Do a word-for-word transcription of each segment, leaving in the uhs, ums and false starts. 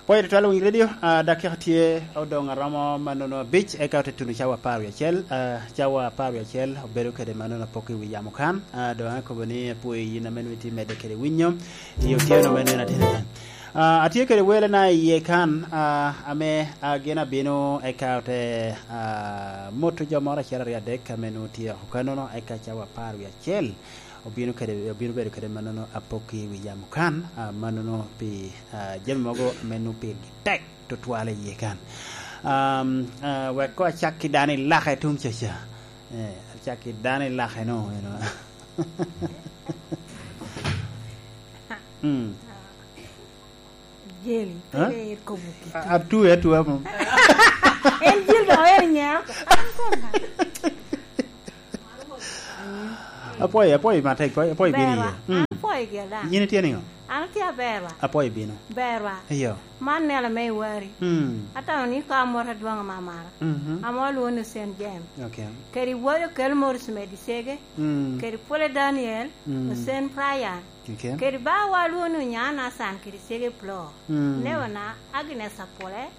Pwod itwero winyo redio, ah, dakika tye odoŋ aromo mannono abic, eka ote tuno cawa apar wie acel. Ah, cawa apar wie acel obedo kede mannono apok i wi yamo kan. Ah, doŋ akobo ni apwoyo yin ame nwoŋo itye medde kede winyo i otyeno me nino ateni. Ah, atye kede welena iye kan, ah, ame, ah, gin abino eka ote, ah, moto jo moro acel aryo adek ame nwoŋo tye oko kannono, eka cawa apar wie acel obino kede, obino bedo kede mannono apok i wi yamo kan, ah, mannono pi, ah, jami mogo ame nwoŋo pigi tek tutwal iye kan. Um, ah, wek koŋ acak ki dano i lake tuŋ caca. Eh, acak ki dano i lake no, you know. Mm. Jeli, huh? Pe ikobo kiti. A-, atue atua mo. En jil dok en nyako. Apwoyo, apwoyo matek, apwoyo, apwoyo bino iye. Berwa, mm, an apwoyo gin daŋ. Yin itye niŋo? An atye aber wa. Apwoyo bino. Berwa. Iyo. Man nela me Iwari. Mm. Atamo ni ka amot adwoŋ amamara. Mhm. Ame olwoŋo ni Saint James. Okay. Kede Iwari okel Morris Medisege. Mm. Kede Pwole Daniel, mm, Hussein Brian. Okay. Kede bawa lwoŋo ni Onyaa Nathan kede Cege Plo. Mm. Newona Agnes Apole,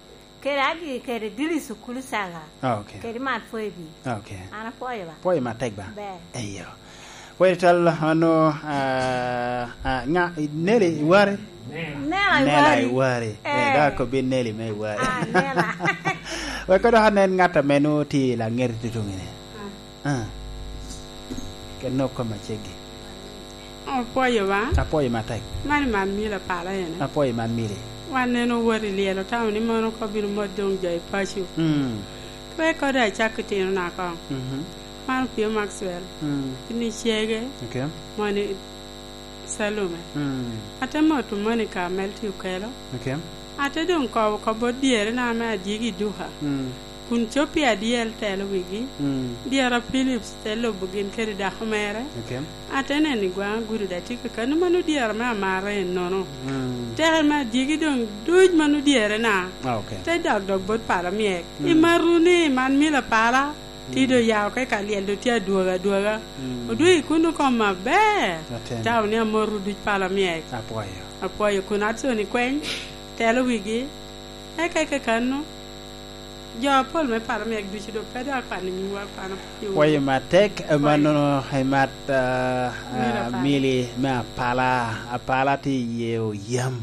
kede Agi kede Dili Sukulu Saga. Ah, okay. Kede Mat Pwebi. Ah, okay. An apwoyo ba. Pwoyo matek ba? Ber. Eyo. Pwoyo tal ano, ah, ah, nga, Neli Iwari? Nela Nela Iwari. Iwari. Eh, eh, da ko bin Neli me Iwari. Ah, Nela. Wek dok anen ŋat ame nwoŋo tye i laŋet tutuŋ ni. Ah. Ah. Ken nwoŋo koma ceggi. Apwoyo ba. Apwoyo matek. Man i man mili apala ene. Apwoyo man mili. Wan neno wot i lyel otamo ni mono ko bino mot doŋ jo i paco. Mm. Wek kode acak ki tino na koŋ. Mhm. Man opio Maxwell. Mm. Ni cege. Okay. Moni Salume. Mm. Ate moto Monica Melti Okelo. Okay. Ate doŋ kobo kop bot dyerena ame adyegi i duka. Mm. Kun cop i adyel telo wigi. Mm. Dyera Philips te lubo gin kede dako mere. Okay. Ate neno i gwaŋ agudo da tye kakano mano dyera me amaro ennono. Mm. Teke me adyegi doŋ duc mano dyerena. Ah, okay. Te dok dok bot pala myek. Mm. I maruni, man mila pala. Ti do ya oke ka lyel do tye adwoga adwoga. Mm. Odwogo i kuno kom maber. Aten. Tao ni amor oduc pala myek. Apwoyo. Apwoyo kun ato ni kweny, telo wigi. Eka eka kano, jo apol me pala myek ducu do pe do akwano nyuwa, akwano apwoyo. Pwoyo matek, apwoyo. Manono, eh, mat, ah, ah, mili apala. Mili me apala. Apala ti ye oyam.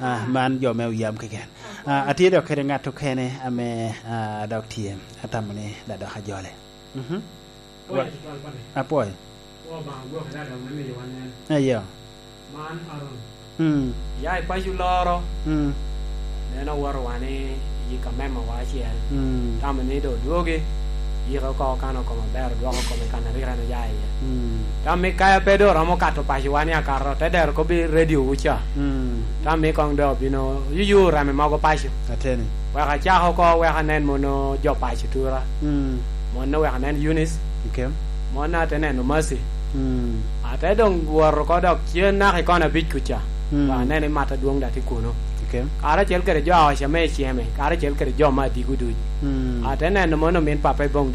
Ah, man jo me oyam keken. Ah, atye dok kede ŋat okene ame, ah, dok tye. Atamo ni dadok ajole. Mhm. Apwoyo. Apwoyo. Eyo. Man Aaron. Mm. Ya i paco loro. Mm. Neno woro wan i yi ka mema wa acel. Mm. Tamo ni do dwogi. Yiko oko kano koma ber, dwoko kome kan a rik en oya iye. Mm. Tam mi kaya pe do romo kato paco wan i akato, te dero kobbi radio wu ca. Mm. Tam mi kong do bino yuyu rame mogo paco. Ateni. Wek acak oko, wek anen mono jo paco tura. Mm. Mono wek anen Eunice. Okay. Mono ate neno Mercy. Mm. Ate doŋ woro ko dok cen naka i kona abic kuca. Mm. Wek anen i mat adwoŋ da tye kuno. Okay. Karacel kede jo a oca me iceme, karacel kede jo ma adigo duc. Mm. Ate neno mono min papa i boŋ